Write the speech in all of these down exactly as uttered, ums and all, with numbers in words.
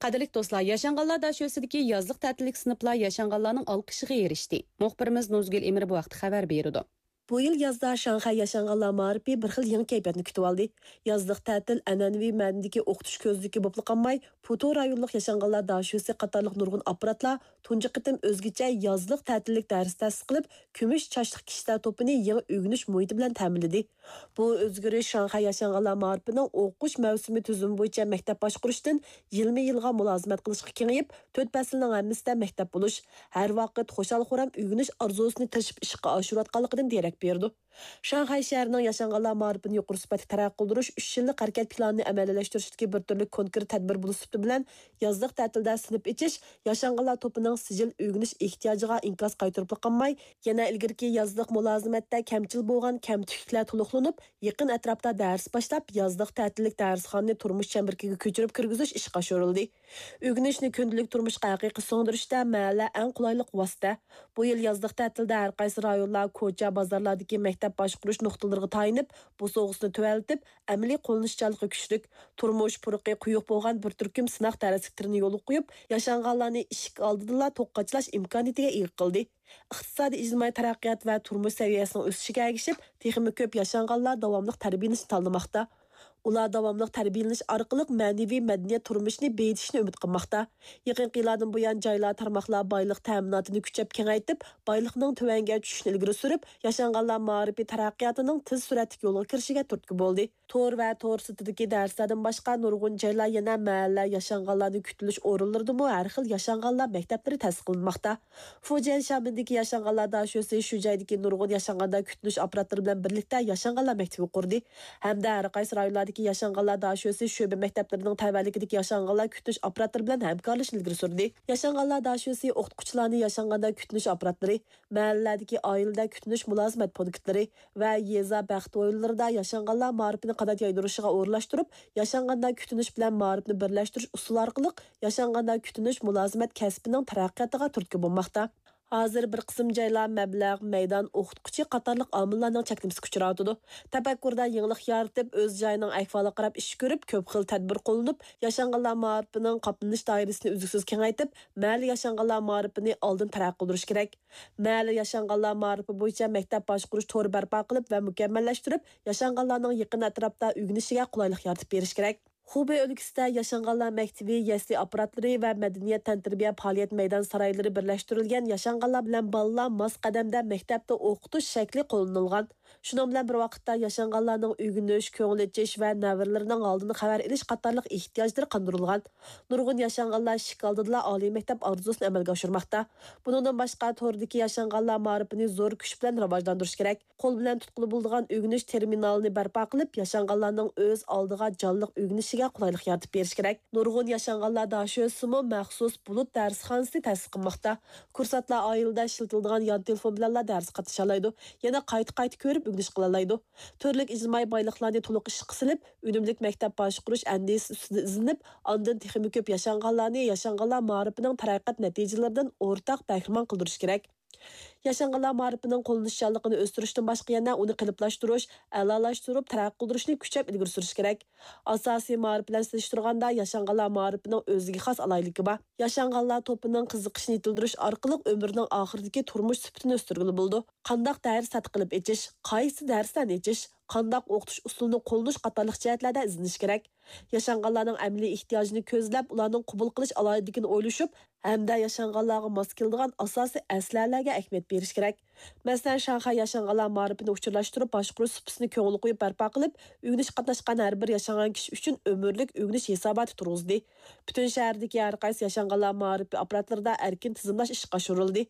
قەدىرلىك دوستلار، ياشانغانلار داشۆسىدىكى يازلىق تەتىللىك سىنىپلار ياشانغانلارنىڭ ئالقىشىغا ئېرىشتى. مۇخبىرىمىز نۇزگۈل ئىمىر بۇ ھەقتە خەۋەر بېرىدۇ. بۇ يىل يازدا شاڭخەي ياشانغانلار مائارىپى بىر خىل يېڭى كەيپىياتنى كۈتۈۋالدى. يازلىق تەتىل ئەنئەنىۋى مەنىدىكى ئوقۇتۇش كۆزنىكى بولۇپلا قالماي، پۇتو رايونلۇق ياشانغانلار داشۆسى قاتارلىق نۇرغۇن ئاپپاراتلار تۇنجى قېتىم ئۆزگىچە يازلىق تەتىللىك دەرس تەسىس قىلىپ، كۈمۈش چاچلىق كىشىلەر توپىنى يېڭى ئۆگىنىش مۇھىتى بىلەن تەمىنلىدى. بۇ ئۆزگىرىش شاڭخەي ياشانغانلار مائارىپىنىڭ ئوقۇش مەۋسۇمى تۈزۈمى بويىچە مەكتەپ باشقۇرۇشتىن يىلمۇ يىلغا مۇلازىمەت قىلىشقا كېڭىيىپ، تۆت پەسىلنىڭ ھەممىسىدە مەكتەپ بولۇش، ھەر ۋاقىت خۇشال-خۇرام ئۆگىنىش ئارزۇسىنى تىرىشىپ ئىشقا ئاشۇرۇۋاتقانلىقىدىن دېرەك بېرىدۇ. شاڭخەي شەھىرىنىڭ ياشانغانلار مائارىپىنى يۇقىرى سۈپەتلىك تەرەققىي قىلدۇرۇش ئۈچ يىللىق ھەرىكەت پىلانىنى ئەمەلىيلەشتۈرۈشتىكى بىر تۈرلۈك كونكرېت تەدبىر بولۇش سۈپىتى بىلەن يازلىق تەتىلدە سىنىپ ئېچىش ياشانغانلار توپىنىڭ سىجىل ئۆگىنىش ئېھتىياجىغا ئىنكاس قايتۇرۇپلا قالماي، يەنە ئىلگىرىكى يازلىق مۇلازىمەتتە كەمچىل بولغان كەمتۈكلۈكلەر تولۇقلىنىپ، يېقىن ئەتراپتا دەرس باشلاپ، يازلىق تەتىللىك دەرسخانىنى تۇرمۇش چەمبىرىكىگە كۆچۈرۈپ كىرگۈزۈش ئىشقا ئاشۇرۇلدى. ئۆگىنىشنى كۈندىلىك تۇرمۇشقا ھەقىقىي سىڭدۈرۈشتە مەھەللە ئەڭ قولايلىق ۋاسىتە. بۇ يىل يازلىق تەتىلدە ھەر قايسى رايونلار، كوچا، بازارلاردىكى مەكتەپ باشقۇرۇش نۇقتىلىرىغا تايىنىپ، بوسۇغىسىنى تۆۋەنلىتىپ، ئەمەلىي قوللىنىشچانلىقى كۈچلۈك، تۇرمۇش پۇرىقى قويۇق بولغان بىر تۈركۈم سىناق دەرسلىك تۈرىنى يولغا قويۇپ، ياشانغانلارنى ئىشىك ئالدىدىلا توك قاچىلاش ئىمكانىيىتىگە ئىگە قىلدى. ئىقتىسادىي ئىجتىمائىي تەرەققىيات ۋە تۇرمۇش سەۋىيەسىنىڭ ئۆسۈشىگە ئەگىشىپ، تېخىمۇ كۆپ ياشانغانلار داۋاملىق تەربىيەلىنىشنى تاللىماقتا. ئۇلار داۋاملىق تەربىيەلىنىش ئارقىلىق مەنىۋى مەدەنىيەت تۇرمۇشىنى بېيىتىشنى ئۈمىد قىلماقتا. يېقىنقى يىللاردىن بۇيان جايلار، تارماقلار بايلىق تەمىناتىنى كۈچەپ كېڭەيتىپ، بايلىقنىڭ تۆۋەنگە چۈشۈشىنى ئىلگىرى سۈرۈپ، ياشانغانلار مائارىپى تەرەققىياتىنىڭ تېز سۈرئەتلىك يولغا كىرىشىگە تۈرتكە بولدى. تور ۋە تور سىرتىدىكى دەرسلەردىن باشقا، نۇرغۇن جايلار يەنە مەھەللە ياشانغانلارنى كۈتۈۋېلىش ئورۇنلىرىدىمۇ ھەر خىل ياشانغانلار مەكتەپلىرى تەسىس قىلىنماقتا. فۇجيەن شيامېندىكى ياشانغانلار داشۆسى شۇ جايدىكى نۇرغۇن ياشانغانلار كۈتۈنۈش ئاپپاراتلىرى بىلەن بىرلىكتە ياشانغانلار مەكتىپى قۇردى ھەمدە ھەر قايسى رايونلاردىكى ياشانغانلار داشۆسى شۆبە مەكتەپلىرىنىڭ تەۋەلىكىدىكى ياشانغانلار كۈتۈنۈش ئاپپاراتلىرى بىلەن ھەمكارلىشىشنى ئىلگىرى سۈردى. ياشانغانلار داشۆسى ئوقۇتقۇچىلارنى ياشانغانلار كۈتۈنۈش ئاپپاراتلىرى، مەھەللىلەردىكى ئائىلىدە كۈتۈنۈش مۇلازىمەت پونكىتلىرى ۋە يېزا بەخت ھويلىلىرىدا ياشانغانلار مائارىپىنى قانات يايدۇرۇشىغا ئورۇنلاشتۇرۇپ، ياشانغانلار كۈتۈنۈش بىلەن مائارىپنى بىرلەشتۈرۈش ئۇسۇلى ئارقىلىق ياشانغانلار كۈتۈنۈش مۇلازىمەت كەسپىنىڭ تەرەققىياتىغا تۈرتكە بولماقتا. ھازىر بىر قىسىم جايلار مەبلەغ، مەيدان، ئوقۇتقۇچى قاتارلىق ئامىللارنىڭ چەكلىمىسىگە ئۇچراۋاتىدۇ. تەپەككۇردا يېڭىلىق يارىتىپ، ئۆز جايىنىڭ ئەھۋالىغا قاراپ ئىش كۆرۈپ، كۆپ خىل تەدبىر قوللىنىپ، ياشانغانلار مائارىپىنىڭ قاپلىنىش دائىرىسىنى ئۈزلۈكسىز كېڭەيتىپ، مەھەللە ياشانغانلار مائارىپىنى ئالدىن تەرەققىي قىلدۇرۇش كېرەك. مەھەللە ياشانغانلار مائارىپى بويىچە مەكتەپ باشقۇرۇش تورى بەرپا قىلىپ ۋە مۇكەممەللەشتۈرۈپ، ياشانغانلارنىڭ يېقىن ئەتراپتا ئۆگىنىشىگە قولايلىق يارىتىپ بېرىش كېرەك. خۇبېي ئۆلكىسىدە ياشانغانلار مەكتىپى، يەسلى ئاپپاراتلىرى ۋە مەدەنىيەت تەنتەربىيە پائالىيەت مەيدان سارايلىرى بىرلەشتۈرۈلگەن ياشانغانلار بىلەن بالىلار ماس قەدەمدە مەكتەپتە ئوقۇتۇش شەكلى قوللىنىلغان. شۇنىڭ بىلەن بىر ۋاقىتتا، ياشانغانلارنىڭ ئۆگىنىش، كۆڭۈل ئېچىش ۋە نەۋرىلىرىنىڭ ھالىدىن خەۋەر ئېلىش قاتارلىق ئېھتىياجلىرى قاندۇرۇلغان. نۇرغۇن ياشانغانلار ئىشىك ئالدىدىلا ئالىي مەكتەپ ئارزۇسىنى ئەمەلگە ئاشۇرماقتا. بۇنىڭدىن باشقا، توردىكى ياشانغانلار مائارىپىنى زور كۈچ بىلەن راۋاجلاندۇرۇش كېرەك. قول بىلەن تۇتقىلى بولىدىغان ئۆگىنىش تېرمىنالىنى بەرپا قىلىپ، ياشانغانلارنىڭ ئۆز ئالدىغا جانلىق ئۆگىنىشىگە قولايلىق يارىتىپ بېرىش كېرەك. نۇرغۇن ياشانغانلار داشۆسىمۇ مەخسۇس بۇلۇت دەرسخانىسىنى تەسىس قىلماقتا. كۇرسانتلار ئائىلىدە ئىشلىتىلىدىغان يان تېلېفون بىلەنلا دەرس قاتنىشالايدۇ، يەنە قايتا-قايتا كۆرۈپ ئۆگىنىش قىلالايدۇ. تۈرلۈك ئىجتىمائىي بايلىقلارنى تولۇق ئىشقا سېلىپ، ئۈنۈملۈك مەكتەپ باشقۇرۇش ئەندىزىسى ئۈستىدە ئىزدىنىپ، ئاندىن تېخىمۇ كۆپ ياشانغانلارنى ياشانغانلار مائارىپىنىڭ تەرەققىيات نەتىجىلىرىدىن ئورتاق بەھرىمەن قىلدۇرۇش كېرەك. ياشانغانلار مائارىپىنىڭ قوللىنىشچانلىقىنى ئۆستۈرۈشتىن باشقا يەنە ئۇنى قېلىپلاشتۇرۇش، ئەلالاشتۇرۇپ تەرەققىي قىلدۇرۇشنى كۈچەپ ئىلگىرى سۈرۈش كېرەك. ئاساسىي مائارىپ بىلەن سېلىشتۇرغاندا، ياشانغانلار مائارىپىنىڭ ئۆزىگە خاس ئالاھىدىلىكى بار. ياشانغانلار توپىنىڭ قىزىقىشىنى يېتىلدۈرۈش ئارقىلىق ئۆمرىنىڭ ئاخىرىدىكى تۇرمۇش سۈپىتىنى ئۆستۈرگىلى بولىدۇ. قانداق دەرس تەتقىق قىلىپ ئېچىش، قايسى دەرستىن ئېچىش، قانداق ئوقۇتۇش ئۇسۇلىنى قوللىنىش قاتارلىق جەھەتلەردە ئىزدىنىش كېرەك. ياشانغانلارنىڭ ئەمەلىي ئېھتىياجىنى كۆزلەپ، ئۇلارنىڭ قوبۇل قىلىش ئالاھىدىلىكىنى ئويلىشىپ، ھەمدە ياشانغانلارغا ماس كېلىدىغان ئاساسىي ئەسلىھەلەرگە ئەھمىيەت بېرىش كېرەك. مەسىلەن، شاڭخەي ياشانغانلار مائارىپىنى ئۇچۇرلاشتۇرۇپ باشقۇرۇش سۇپىسىنى كۆڭۈل قويۇپ بەرپا قىلىپ، ئۆگىنىشكە قاتناشقان ھەر بىر ياشانغان كىشى ئۈچۈن ئۆمۈرلۈك ئۆگىنىش ھېساباتى تۇرغۇزدى. پۈتۈن شەھەردىكى ھەر قايسى ياشانغانلار مائارىپى ئاپپاراتلىرىدا ئەركىن تىزىملاش ئىشقا ئاشۇرۇلدى.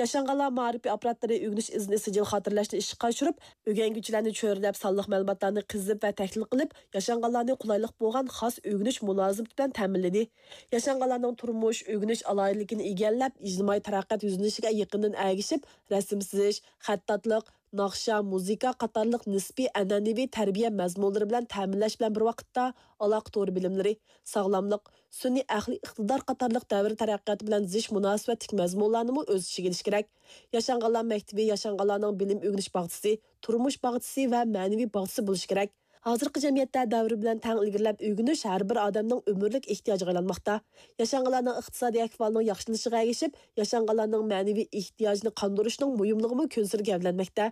ياشانغانلار مائارىپى ئاپپاراتلىرى ئۆگىنىش ئىزنى سىجىل خاتىرىلەشنى ئىشقا ئاشۇرۇپ، ئۆگەنگۈچىلەرنى چۆرىدەپ، سانلىق مەلۇماتلارنى قېزىپ ۋە تەھلىل قىلىپ، ياشانغانلارنى قولايلىق بولغان خاس ئۆگىنىش مۇلازىمىتى بىلەن تەمىنلىدى. ياشانغانلارنىڭ تۇرمۇش، ئۆگىنىش ئالاھىدىلىكىنى ئىگىلەپ، ئىجتىمائىي تەرەققىيات يۈزلىنىشىگە يېقىندىن ئەگىشىپ، رەسىم سىزىش، خەتتاتلىق، ناخشا، مۇزىكا قاتارلىق نىسپىي ئەنئەنىۋى تەربىيە مەزمۇنلىرى بىلەن تەمىنلەش بىلەن بىر ۋاقىتتا، ئالاقە تورى بىلىملىرى، ساغلاملىق، سۈنئىي ئەقلىي ئىقتىدار قاتارلىق دەۋر تەرەققىياتى بىلەن زىچ مۇناسىۋەتلىك مەزمۇنلارنىمۇ ئۆز ئىچىگە ئېلىشى كېرەك. ياشانغانلار مەكتىپى ياشانغانلارنىڭ بىلىم ئۆگىنىش باغچىسى، تۇرمۇش باغچىسى ۋە مەنىۋى باغچىسى بولۇشى كېرەك. ھازىرقى جەمئىيەتتە دەۋر بىلەن تەڭ ئىلگىرىلەپ ئۆگىنىش ھەر بىر ئادەمنىڭ ئۆمۈرلۈك ئېھتىياجىغا ئايلانماقتا. ياشانغانلارنىڭ ئىقتىسادىي ئەھۋالىنىڭ ياخشىلىنىشىغا ئەگىشىپ، ياشانغانلارنىڭ مەنىۋى ئېھتىياجىنى قاندۇرۇشنىڭ مۇھىملىقىمۇ كۈنسېرى گەۋدىلەنمەكتە.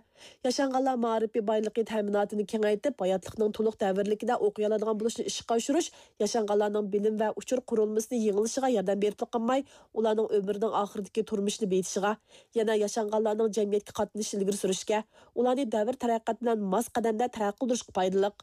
ياشانغانلار مائارىپى بايلىقى تەمىناتىنى كېڭەيتىپ، ھاياتلىقنىڭ تولۇق دەۋرىيلىكىدە ئوقۇيالىدىغان بولۇشنى ئىشقا ئاشۇرۇش، ياشانغانلارنىڭ بىلىم ۋە ئۇچۇر قۇرۇلمىسىنى يېڭىلىشىغا ياردەم بېرىپلا قالماي، ئۇلارنىڭ ئۆمرىنىڭ ئاخىرىدىكى تۇرمۇشىنى بېيىتىشىغا، يەنە ياشانغانلارنىڭ جەمئىيەتكە قاتنىشىشىنى ئىلگىرى سۈرۈشكە، ئۇلارنى دەۋر تەرەققىياتى بىلەن ماس قەدەمدە تەرەققىي قىلدۇرۇشقا پايدىلىق.